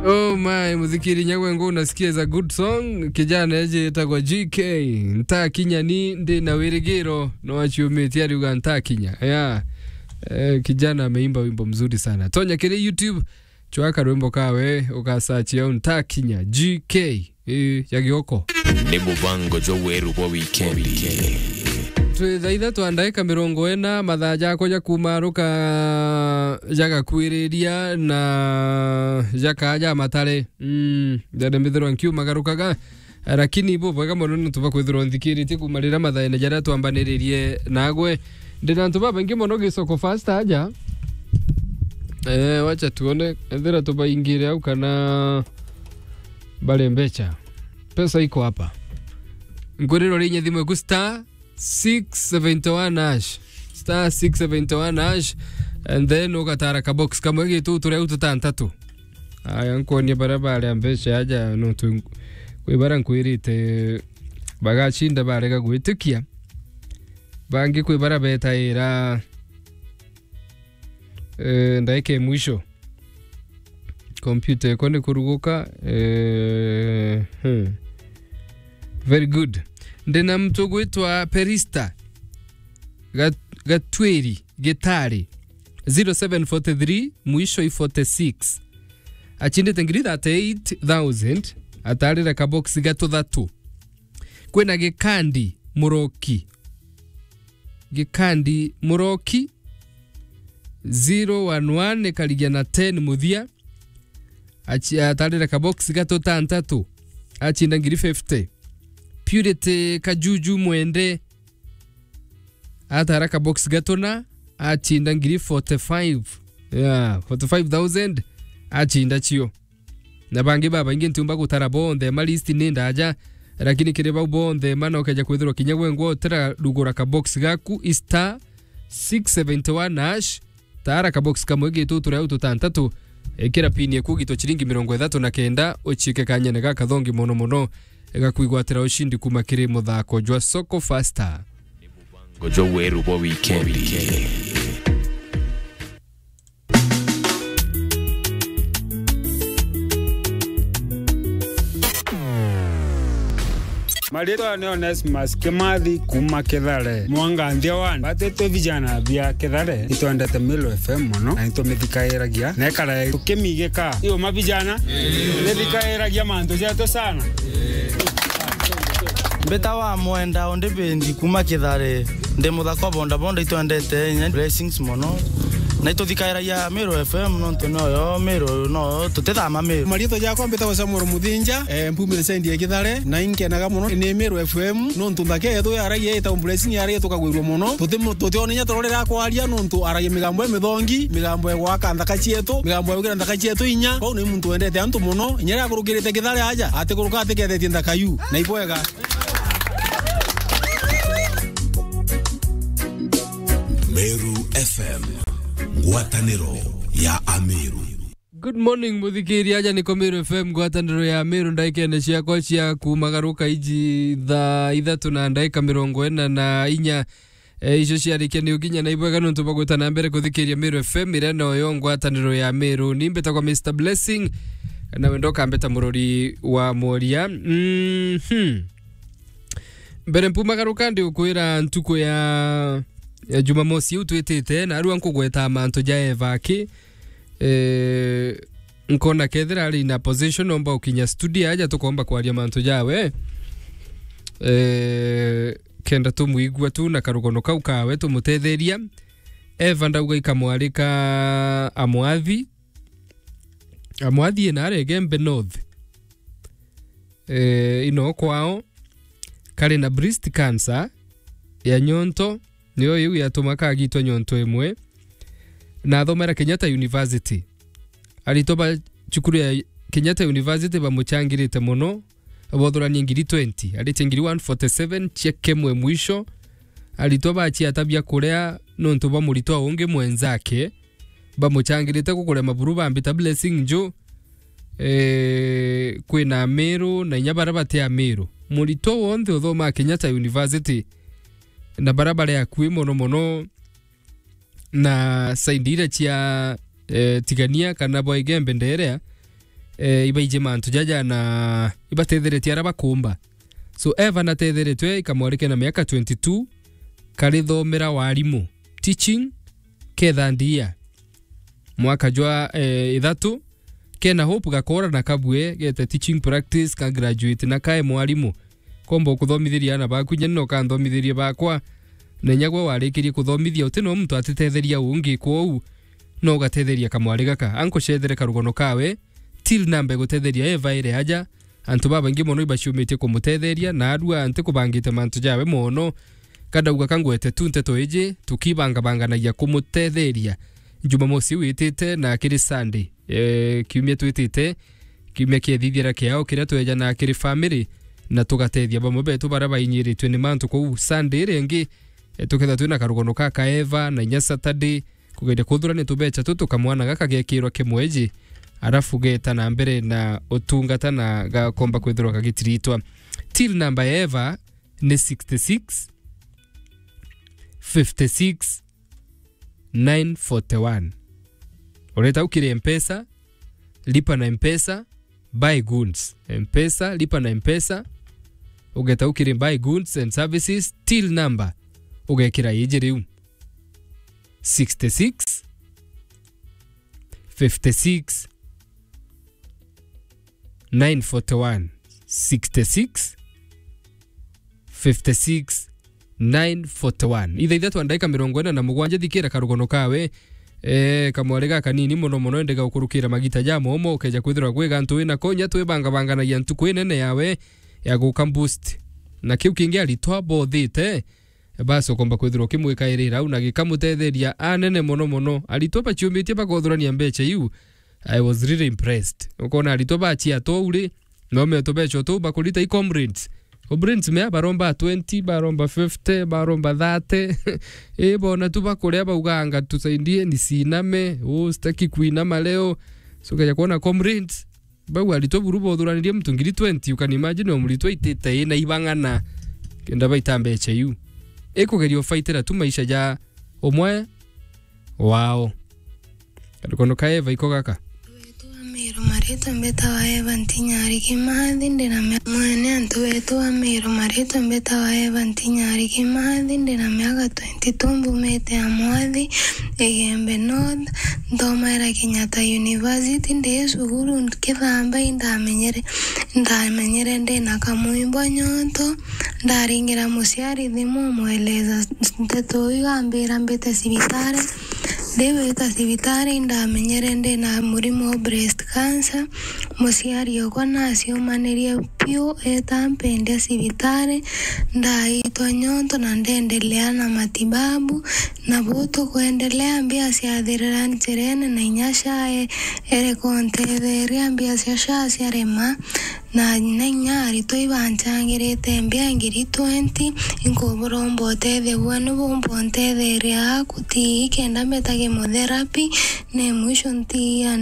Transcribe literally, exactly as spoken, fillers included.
Oh my, muthikiri nyagwe ngo unasikia is a good song. Kijana eje etagwa G K. Ntakinya ni ndi na wirigiro no aciumitie ariuga ntakinya. Yeah. Eh, kijana ameimba wimbo mzuri sana. Tonya kiri YouTube, chwaka rwimbo kawe, ukasearch au ntakinya G K. Eh, ya Gioko. Ni mubango jwa weru bwa wikendi. Twi thaa ithatu na ndaika mirongo ina, mathaa jakwa ja kumaruka jagakuiriria na jakaja matare. Mm, jare mbithirwa nkiumagarukaga, lakini bubwega mono ni tuba kwithirwa nthikiritie kuma riria mathaene jaria twambaniririe nagwe. Ndina antu babaingi mono gicoko fast aja. Eh, wacha tuone, ethira tubaingire au kana bare mbecha. Pesa iko hapa. Nguriro ri inya thimu iku star six seventy one hash. Star six seventy one hash. And then ugatara ka box kamwe gitu turia tutantatu. Aya, nkuonie baria baria mbecha aja, no tu, kwi baria nkwirite bagacinda barega gwitikia. Bangi kwi baria betaira, eh, ndaika ya mwisho. Kompyuta iko ni kuruguka. Eh, hmm. Very good. Ndina mtu gwitwa Perista Gat-, Gatwiri Gitari, zero seven forty three, mwisho i forty six. Achindite ngiri thirty eight thousand, atarire ka box gatuthatu. Kwina Gikandi Muroki. Gikandi Muroki, zero one one, ikarigia na ten muthia. Achi-, atarire ka box gatuthatu, achinda ngiri fifty. Purity Kajuju Mwende, atara ka box gatuna, achinda ngiri forty five. Yeah, forty five thousand, achinda cio. Na bangi babaingi ntiumba gutara bonthe, ma list ni ndaja, lakini kiri bau bonthe, ma nokeja kwithirwa kinya gwe ngwa utira rugura ka box gaku, i star six seventy one hash, tara ka box kamwe gitu turia tutantatu, ikira pin eku gitwa chiringi mirongo ithatu na kenda, uchiike kanyene gakathongi mono mono, gakwigwatira ushindi kuma kiri muthako jwa Soko Fasta. Mubango jwa weru bwa wikendi. Maritwa ni Onesmus Kimathi kuma Kithare. Mwanganthia one. Batete vijana bia Kithare itwendete Meru F M mono na nitumithikairagia. Nekara tukimigika. Iyo mavijana, mithikairagia mantu jetu sana. Mbita wa Mwenda Ondibendi kuma Kithare. Ndi muthaka wa boda boda, itwendete inya Blessings mono. Na ituthikairagia Meru F M nontu noyo Meru, no tutithama Meru. Mariitwa jakwa mbitagwa Samuel Muthinja, eh, mpumite sendi ya Kithare, na inkenaga mono ni Meru F M, nontu nthaka yetu yaragia ita Blessing yaragia tukagwirua mono. Tuti-, tutionenya tororera kwaria nontu aragia migambo ya mithongi, migambo ya gwaka nthaka cietu, migambo ya gwikira nthaka cietu inya. Kwou ni muntu wendete antu mono, inya riria akurukirite Kithare aja, atikuruka atikethetie nthaka yu. Na ibwega. Meru F M, ngwataniro ya Ameru. Good morning, muthikiri, aja niko Meru F M, ngwataniro ya Meru, ndaikene ciakwa cia kumagaruka iji thaa ithatu na ndaika mirongo ina na inya. Eh, icio ciarikia ni ukinya na ibwega nontu bagwita na mbere kuthikiria Meru F M, iria noyo ngwataniro ya Meru. Ni mbitagwa Mister Blessing, na wendo ukambita murori wa mworia. Mhm. Mbere mpumagaruka, ndi ukwira ntuku ya, ya Jumamosi iu twitite, na arua nkugweta mantu ja Eva aki, eh, nkona kethira ari na position, omba ukinya studio aja tukomba kwaria mantu jawe. Eh, kenda tumwigua tu na karugono kau kawe tumutetheria. Eva ndauga ikamwarika Amwathi. Amwathi ina aria Igembe North. Eh, ino kwao kari na breast cancer ya nyonto, niyo iu yatuma kagitwa nyonto imwe, na athomera Kenyatta University. Aritwa ba cukuru ya Kenyatta University bamuchangirite mono, bothuranie ngiri twenty, aritie ngiri one forty seven, check imwe mwisho. Aritwa bachiata bia kuria nontu bwa muritwa ungi mwenzake, bamuchangirite kukuria maburu bambita Blessing Nju, eh, kwina Amiru na inya baria bati Amiru. Muritwa wonthe uthomaa Kenyatta University, na baria bari akui mono mono na side iria cia, eh, Tigania kana bwa Igembe Nderea, eh, ibaiji mantu jaja na ibatetheretie ara bakumba. So, Eva natetheretwe ikamwarike na miaka twenty-two, karithomera warimu, teaching, kethandia. Mwaka jwa, eh, ithatu, kena Hope gakora na kabue, gete teaching practice, ka graduate na kae mwarimu. Komba ukuthomithiria ana baku, inya no kanthomithirie bakwa. Na inya gwe warikirie kuthomithia, uti no muntu atithetheria ungi, kwou no ugatetheria kamwari gaka. Ankucethere karugono kawe, till namba igutetheria Eva ire aja. Antu babaingi mono ibaciumitie kumutetheria, na arua ntikubangite mantu jawe mono. Kadauga kangwete tu nteto iji, tukibangabanganagia kumutetheria Jumamosi iu itite na kiri Sunday, eh, kiumia twitite, kiumia kiethithira kiao kiria twejana kiri family, na tugatethia bamwe betu baria bainyiritwe ni mantu kuu. Sunday iria ingi, eh, tukethirwa twina karugono ka kaeva, na inya Saturday, kugeria kuthurania tubecha tu tukamwana gaka gekirwa kimweji, arafu geta na mbere na utungata na gakomba kwithirwa gagitiritwa. Till namba ya Eva ni sixty-six, fifty-six, nine forty-one. Ureta ukiri Mpesa, lipa na Mpesa, buy goods. Mpesa, lipa na Mpesa, ugeta ukiri buy goods and services, till number, ugekira iji riu. Sixty-six, fifty-six, nine forty-one. Sixty-six, fifty-six, nine forty-one. Ithaa ithatu na ndagika mirongo ina na mugwanja, thikira karugono kawe. Eh, kamwari gakanini mono mono, indi gaukurukira magita ja momo, ukeja kwithirwa gwi gantu wina ko, inya twibangabanganagia ntuku inene yawe ya guka boost. Na kiu kingi aritwa bothite, basi ukomba kwithirwa ukimwikairira au na gikamutetheria anene mono mono. Aritwa baciumitie bakothurania mbecha iu. I was really impressed. Ukona aritwa bachia to uri, no meto becho tu bakurita i comrades. Comrades mea baromba twenty, baromba fifty, baromba thirty. I bona tu bakuria bauganga, "Tusaidie nisiname, oh, sitaki kuinama leo." So, ukeja kuona comrades, bau aritwa buru bothuranirie muntu ngiri twenty, you can imagine o muritwa itite ina ibang'ana kenda baita mbecha iu. Ikugeria ufaitira tu maisha ja umwe wao. Karugono ka Eva iko gaka. Antu betu ba Meru, maritwa mbetawa Eva Ntinyari Kimathi, ndina mia-, mwene antu betu ba Meru, maritwa mbetawa Eva Ntinyari Kimathi, ndina miaka twenty-two, mbumite Amwathi, Igembe North, nthomaira Kenyatta University, ndi cukuru nkithamba, indamenyere, ndamenyere ndina kamwimbo nyonto, ndaringira muciari thimu, mweleza nteto iu, ambira mbite cibitari. Ndiwita cibitari, indamenyere ndina murimo wa breast cancer. Muciari okwa naciumanirie piu, eta mpendia cibitari, ndaitwa nyonto na ndendelea na matibabu. Na bu tukwendelea, mbia ciathirira njirene, na inya SHA e-, ereka untetheria, mbia cia SHA ciarema, na, na inya aritwa ibanchangirite mbia ngiri twenty, inkuburomba utethia bwenu bumba untetheria aku ti kenda mbeta chemotherapy, ne mwisho ntiia